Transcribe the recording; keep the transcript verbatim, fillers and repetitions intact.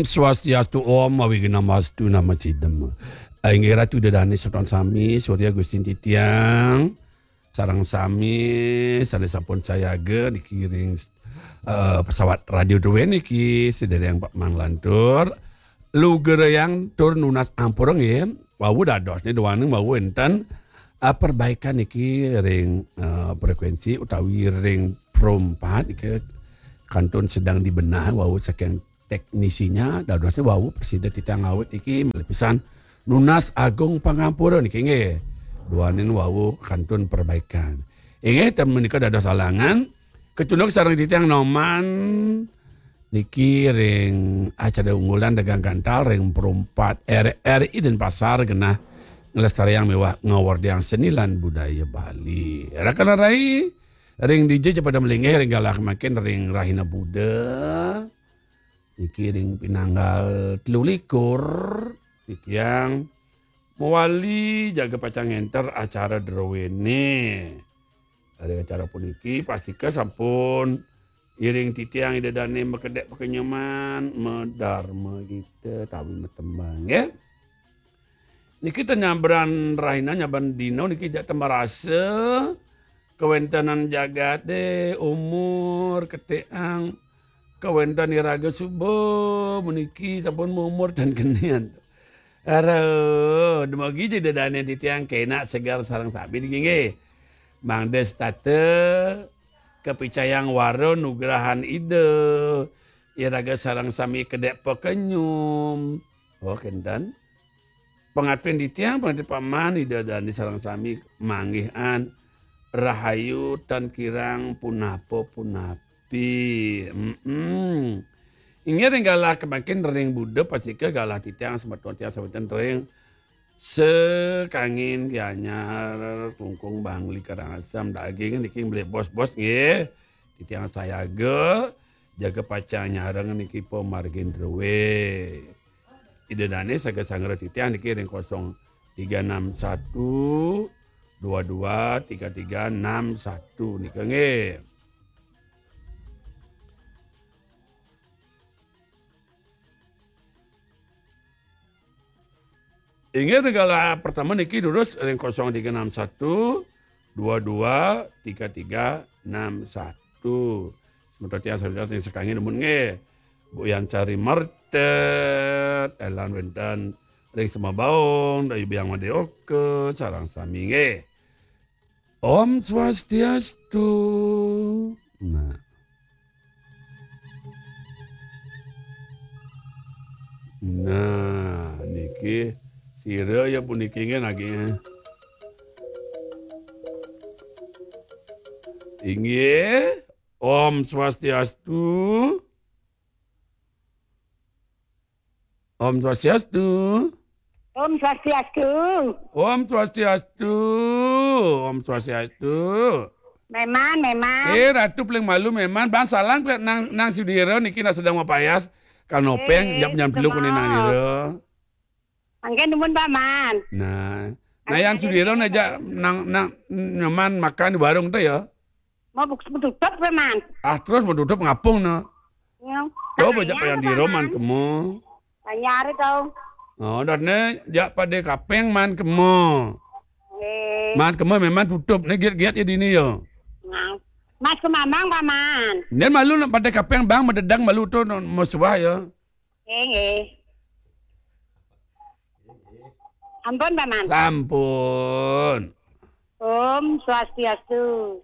Swastiastu, Om Awighnamastu Namo Sidham. Inggih Ratu Ida Dane semeton sami, Surya Gustin titiang, sareng sami sane sampun sayaga niki ring, eh, pesawat radio druene niki, sedereng Pak Manglantur. Lugrayang tur nunas ampura nggih. Wau dadosne duaning wau enten, eh, perbaikan niki ring, eh, frekuensi utawi ring perompat niki kantun sedang dibenah wau saking teknisinya, dadosne wau prasida titiang ngawit niki malih pisan nunas agung pangampura niki nggih. Duaning wau kantun perbaikan. Inggih, ten menika dados alangan, kecunduk sareng titiang Noman niki ring acara unggulan dagang gantal ring perompat R R I Denpasar genah nglestariang miwah ngawerdiang seni lan budaya Bali. Rakana rai ring D J ja pada malinggih ring galah mangkin ring rahina Buda. Niki ring pinanggal telu likur, titiang mawali jaga pacang ngenter acara druene. Ring acara puniki pastika sampun iring titiang Ida Dane makedek pakenyuman, madarma gita, tawi matembang, ya. Niki ten nyabran rahina, nyabran dina niki jak ten marasa kawentenan jagate, umur, keteang, kawenten iraga suba meniki sampun maumur ten kenian. Aduh, dumugi Ida Dane titiang kenak seger sareng sami niki nggih. Mangda setata kapicayang wara nugrahan Ida, iraga sareng sami kedek pakenyum. Oh, kenten. Pangapin titiang, pangapin paman, Ida Dane sareng sami manggihan rahayu tan kirang punapa-punapi. Mm-mm. Inggih ring galah kemangkin ring Buda pastika galah titiang semeton titiang semeton ring Sekangin Gianyar, Klungkung, Bangli, Karangasem, daging niki mlih bos-bos nggih. Titiang sayaga, jaga pacang nyareng niki pamargin druwe. Ida Dane saga sanggra titiang niki ring kosong tiga enam satu dua dua tiga tiga enam satu nika nggih. Inggih, galah pertama niki durus ring kosong tiga enam satu dua dua tiga tiga enam satu. Semeton tiang sami sing sekangin numun nggih. Bu Yan Sari Mertet, Elan wenten ring Semabaung, Dayu Biang Madeoka, sareng sami nggih. Om Swastiastu. Nah. Nah, niki sira ya puniki nggih nagih. Inggih, Om Swastiastu. Om Swastiastu. Om Swastiastu. Om Swastiastu. Om Swastiastu. Meman, meman. Eh, Ratu paling malu meman. Bang salang pe nang, nang sudira niki nak sedang mapayas. Kanopeng, eh, nyap nyam peluk ni nang dira. Mangke numun, Paman. Nah. Nah, yang sudira nak jak nang, nang nyaman makan di warung tu ya. Mau buk-, tutup, Paman. Ah, terus mau tutup ngapung no. Ya. Coba jak payang dira man kemo. Tanya hari tau. Oh, dah ne, jak pada kapeng man kemo. Eh. Man kemo memang tutup. Ne giat-giat ya dini ya. Nah. Mas ke Mamang, Paman. Dan malu nak pada kapeng bang, mededang malu tu no, mau suah ya. Nggih, nggih. Ampun, Paman. Sampun. Om Swastiastu.